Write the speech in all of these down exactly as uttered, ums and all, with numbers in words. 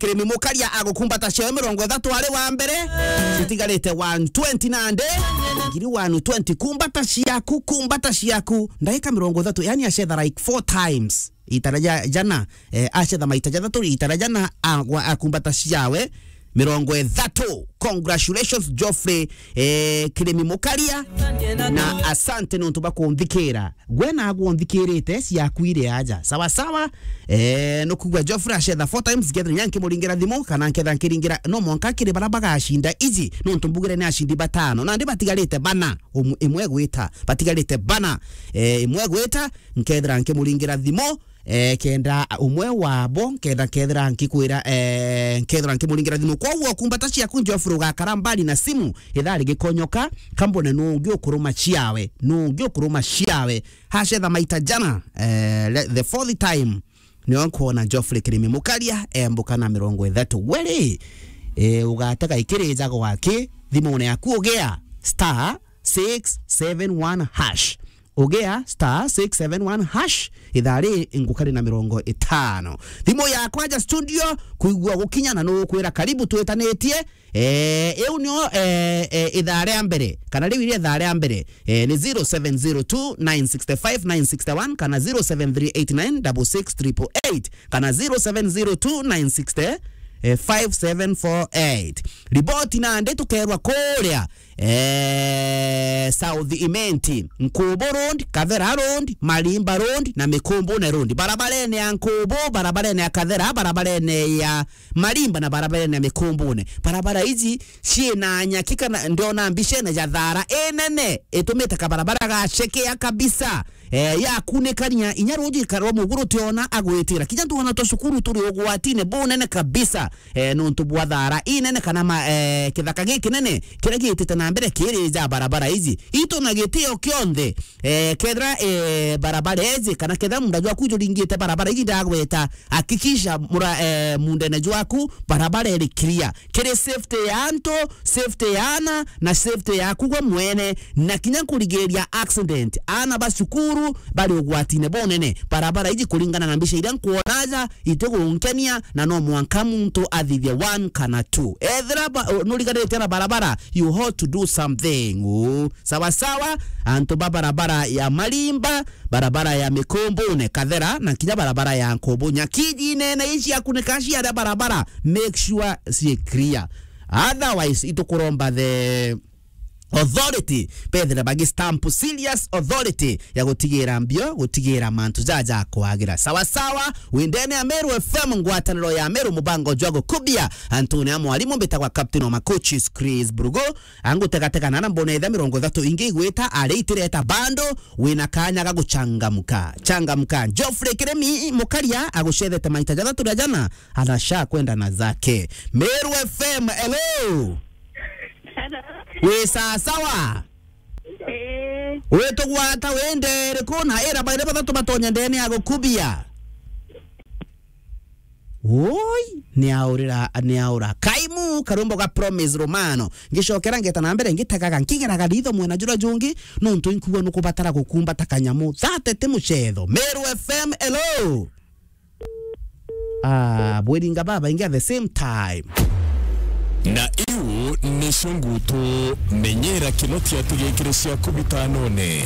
Kirimi Mukaria agukumbata ciawe mirongo ithatu ari wa mbere. Citigarite one twenty nandi. Ngiri one twenty, kumbata ciaku, kumbata ciaku. Ndagika mirongo ithatu, yani acetha like four times. Itara ja-, jana, eh, acetha maita jathatu, itara jana, agwa-, akumbata ciawe mirongo ithatu. Congratulations, Geoffrey, eh, Kirimi Mukaria. Na asante nontu bwa kunthikira. Gwe nagwe unthikirite, ciaku iri aja. Sawa sawa. Eh, nukugua Geoffrey acetha four times, nkethira nya nkimuringira thimu, kana nkethira nkiringira, no mwanka kiri bara bagacinda iji, nontu mbugire ni acindi batano. Nandi batigarite bana, um-, imwe gwita, batigarite bana, eh, imwe gwita, nkethira nkimuringira thimu, eh, kenda umwe wabo, nkenda kethira nkikwira, eh, nkethira nkimuringira thimu. Kwoguo kumbata ciaku Geoffrey ugakara mbali na simu, ithaa rigikonyoka, kambone nungi ukuruma ciawe, nungi ukuruma ciawe. Hacetha maita jana, eh, le-, the fourth time, nio nkwona Geoffrey Kirimi Mukaria embuka na mirongo ithatu. We ri, eh, ugatega ikirija gwaki, thimune yaku ugea star six seven one hash. Ugea star six seven one hash, ithaa ri ngukari na mirongo itano. Thimu yakwa ja studio, kuigua gukinya na nukwira karibu twitanitie, Eh, iu nio, eh, eh, ithaa ria mbere, kana riu iria ithaa ria mbere, eh, ni zero seven zero two nine six five nine six one, kana zero seven three eight nine six six triple eight, kana zero seven zero two nine six five seven four eight. Riboti nandi tukerwa kuria, eh, South Imenti, Nkubu Road, Kathera Road, Marimba Road, na Mikumbune Road. Barabarene ya Nkubu, barabarene ya Kathera, barabarene ya Marimba na barabarene ya Mikumbune. Barabara iji ciina nyaki kana ndiona mbicene ja thaara inene itumite kabarabara gacekea kabisa. Eh, yakunikania inya ruji karwa muguru tiona agwitira. Kinya tuona twa cukuru turi ugwatine bunene kabisa. Eh, nontu bwa thaara inene kana ma-, eh, kithaka gikinene kiria giitite na mbere kiri ja barabara iji. Itu na gitio kionthe, eh, kethira, eh, barabara iji kana kethira munda jwaku juringite barabara iji ndagweta, hakikisha mura-, eh, mundene jwaku barabara iri clear. Kiri safety ya antu, safety ya ana, na safety yaku gwe mwene, na kinya kurigiria accident. Ana ba cukuru bari ugwatine bunene. Barabara iji kuringana na mbica iria nkwona aja, itigunkenia, na no mwanka muntu athithie one kana two. Ethira ba-, nuriganirite na barabara, you ought to do something. Uu. Sawa sawa, antu ba barabara ya Marimba, barabara ya Mikumbune, Kathera, na kinya barabara ya Nkubu. Nyakiji nene ici akunika ciaria barabara, make sure ciĩ clear. Otherwise, itukuromba the authority, bethire bagi stamp serious authority ya gutigira mbio, gutigira mantu jaja kwagira. Sawa sawa, windene ya Meru F M, ngwataniro ya Meru, mubango jwa gukubia, antune ya mwalimu mbitagwa Captain wa Macoaches Chris Brugo, angutegatega nana mbona itha mirongo ithatu ingi igwita, ari itireta bando, wina kanya ga guchangamka. Changamka. Geoffrey Kirimi Mukaria agucethete maita jathatu ria jana, anasha kwenda na zake. Meru F M, hello. Hello. Wi sawa sawa? Ii. Witugwata wi ndee iriku na ira bairi bathatu batonya ndene ya gukubia? Woi, ni aurira, ni aura. Kaimu, karumbo ga Promise Romano. Ngicokera ngeta na mbere, ngitegaga, nkigeraga ritho mwena jura jungi, nontu inkuwa nukubatara gukumbata kanyamu. Thate ti mucetho. Meru F M, hello. Ah, bwiringa babaingi at the same time. Na iu nicio ngutu menyera kinotia tigikire ciaku bitanone.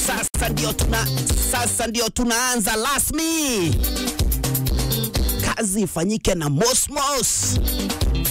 Sasa ndio tuna-, sasa ndio tunaanza rasmi. Kazi ifanyike na Mosmos.